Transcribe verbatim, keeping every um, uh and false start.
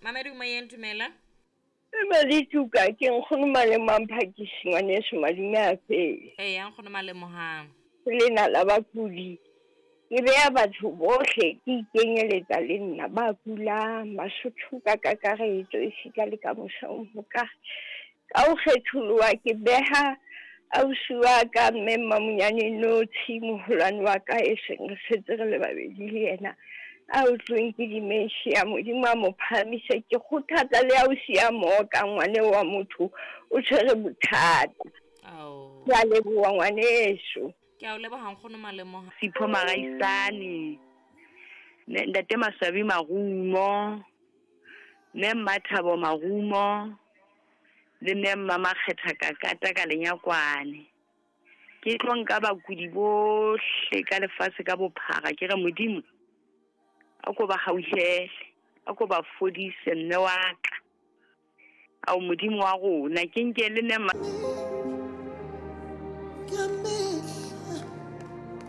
Mamedi moyeng, dumela. Malituka ke nkgono Malemo a Mphakisi, ngwaneso, madume a fele. Eya, nkgono Malemohang. Lena la bakudi, ke beya batho bohle, ke ikenyeletsa le nna ba kulang, Basotho ka kakaretso, esita le ka mosa o ka ka ho kgetholoha. Ke beha ausi wa ka, mme Mmamonyane Notshi, moholwane wa ka e seng re setse re le babedi le yena, a utlweng ke dementia, Modimo a mo phahamise. Ke kgothatsa le ausi ya mooka, ngwane wa motho o tshwere bothata. Ao. Ke a leboha, ngwaneso. Ke a o leboha, nkgono Malemohang. Sipho Maraisane, ne ntate Maswabi Marumo, mme Mmathabo Marumo le mme Mmamakgetha Kakata ka Lenyakwane. Ke tlo nka bakudi bohle ka lefatshe ka bophara, ke re Modimo a ko ba hauhele, a ko ba fodise, mme wa ka, ao Modimo wa rona. Ke nke le mme